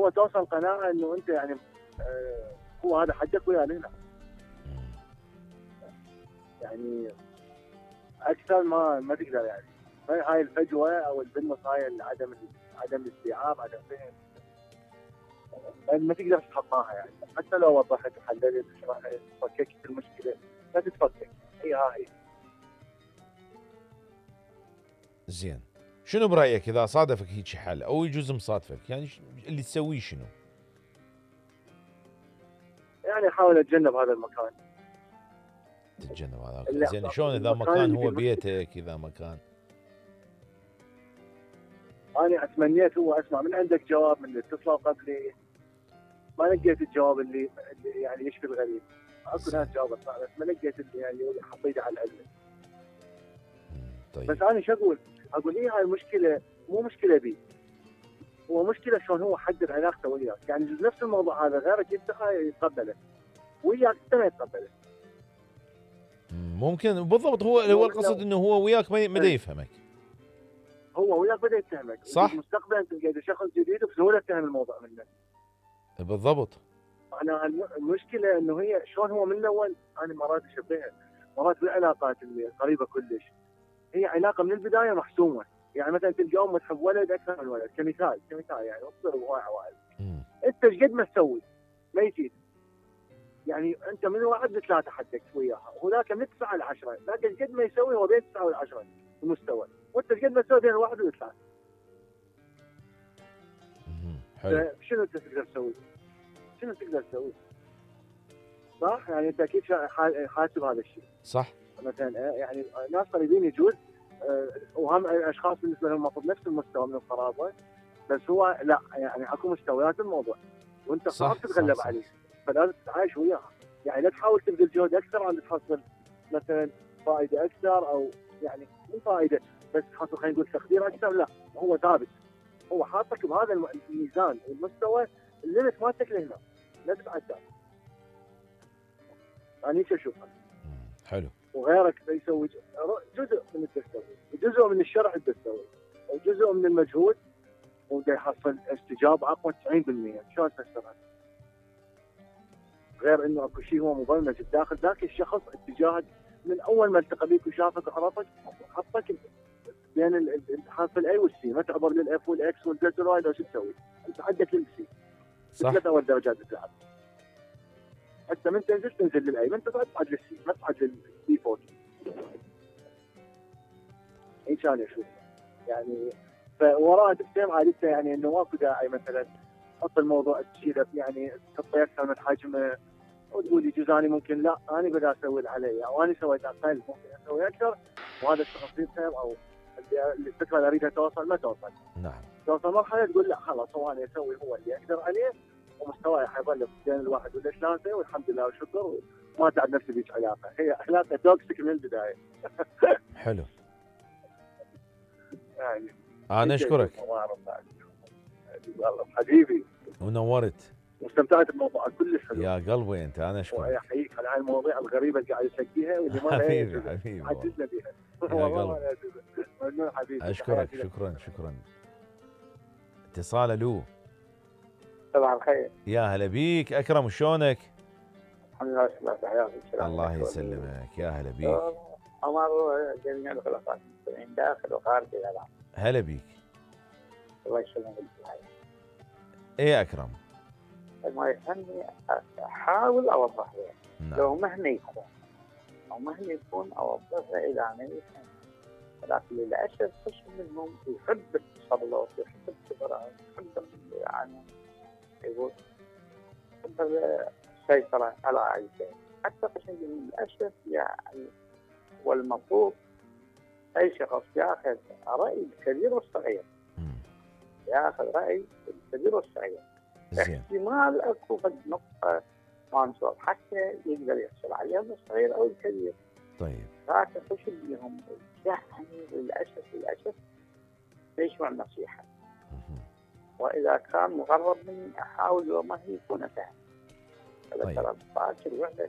هو توصل قناعه انه انت يعني هو هذا حدك ويا هنا. يعني اكثر ما تقدر يعني. هاي الفجوه او البنص، هاي عدم الاستيعاب، عدم فهم، ما تقدر تتخطاها يعني. حتى لو وضحت وحللت وشرحت فككت المشكله لا تتفكك، هي. زين، شنو برايك اذا صادفك هيك حل او يجوز مصادفك، يعني اللي تسويه شنو؟ يعني احاول اتجنب هذا المكان. تتجنب هذا المكان. زين، شلون اذا مكان هو بيتك، اذا مكان انا اتمنيت هو اسمع من عندك جواب من اللي اتصلوا قبلي، ما لقيت الجواب اللي يعني يشفي الغريب. اكو ناس جاوبت بس ما لقيت اللي يعني حطيته على العلم. طيب. بس انا شو اقول ايه، هاي المشكله مو مشكله بي، هو مشكله شلون هو حدد علاقته وياك. يعني نفس الموضوع هذا غيرك يتقبله، وياك انت ما يتقبله. ممكن بالضبط. هو القصد انه هو وياك ما بدا يفهمك. هو وياك بدا يتهمك، صح. مستقبلا تلقى شخص جديد وبسهوله تفهم الموضوع منه. بالضبط. انا المشكله انه هي شلون هو من الاول. انا مرات اشبهها مرات بالعلاقات اللي قريبه كلش، هي علاقه من البدايه محسومه. يعني مثلا تلقى ام تحب ولد اكثر من ولد، كمثال يعني اصبر هواي عوائل. انت ايش قد ما تسوي ما يفيد. يعني انت من 1 ل3 حدك وياها، وهذاك من 9 ل 10، ذاك ايش قد ما يسوي هو بين 9 و10 المستوى، وانت ايش قد ما تسوي بين 1 و3. حلو. شنو انت تقدر تسوي؟ شنو تقدر تسوي؟ صح؟ يعني انت اكيد حاسب هذا الشيء. صح. مثلا يعني ناس قريبين يجوز، وهم اشخاص بالنسبه لهم المفروض نفس المستوى من القرابه، بس هو لا، يعني اكو مستويات الموضوع وانت صعب تتغلب عليه، فلازم تتعايش وياها. يعني لا تحاول تبذل جهد اكثر عشان تحصل مثلا فائده اكثر، او يعني مو فائده بس تحصل خلينا نقول تقدير اكثر. لا، هو ثابت، هو حاطك بهذا الميزان والمستوى، الليمت مالتك لهنا، لا تتعدى. يعني ايش اشوفها. حلو. وغيرك يسوي جزء من التسوي، وجزء من الشرع التسوي، وجزء من المجهود، وده يحصل استجابه اقوى 90%. شلون تفسرها؟ غير انه اكو شيء هو مبرمج بداخل ذاك الشخص اتجاهك من اول ما التقى بيك وشافك وعرفك، حطك بين الحرف الاي والسي، ما تعبر للاف والاكس والزد والواي. لو شو تسوي؟ انت عندك للسي. صح. 3 اول درجات بتلعب. حتى من تنزل للاي، من تصعد للسي، ما تصعد للدي فوق. ايش انا اشوف يعني. فوراء تفهم عادته، يعني انه ماكو داعي مثلا تحط الموضوع تشيله، يعني تحطه اكثر من حجمه وتقول يجوز انا ممكن لا، انا بدي اسوي اللي علي، او انا سويت اقل ممكن اسوي اكثر، وهذا الشخص يفهم، او الفكره اللي اريدها توصل ما توصل. نعم. توصل مرحله تقول لا خلاص، هو انا اسوي هو اللي اقدر عليه، ومستواي حيظل بين 1 و3 والحمد لله والشكر، وما تعب نفسي بهيك علاقه. هي علاقه توكسيك من البدايه. حلو. يعني انا اشكرك والله حبيبي، ونورت، واستمتعت بالموضوع كلش حلو. يا قلبي انت، انا اشكرك. واحييك على هاي المواضيع الغريبه اللي قاعد تسقيها، واللي ما حبيبي عجزنا بها. يا قلبي ممنون حبيبي، اشكرك. شكرا. اتصال. الو. صباح الخير. يا هلا بيك اكرم، شلونك؟ الحمد لله، حياتك. الله يسلمك، يا هلا بيك. عمر جميع الخلفاء المسلمين داخل وخارج العالم. هلا بيك. الله يسلمك. ايه يا اكرم. ما يهمني احاول اوضح له. نعم. لو مهما يكون اوضح له الى ان يفهم. لكن للاسف قسم منهم يحب التسلط، يحب الكبرى، يحب يعني يقول يحب السيطرة على أي شيء. حتى قسم للاسف يعني. والمفروض اي شخص ياخذ راي الكبير والصغير. ياخذ راي الكبير والصغير. احتمال اكو قد نقطه ما نصاب حتى يقدر يحصل عليها الصغير او الكبير. طيب. لكن خش بيهم يعني للاسف يسمع النصيحه. واذا كان مغرب مني احاول وما هي يكون فاهم. طيب. ترى باكر وحده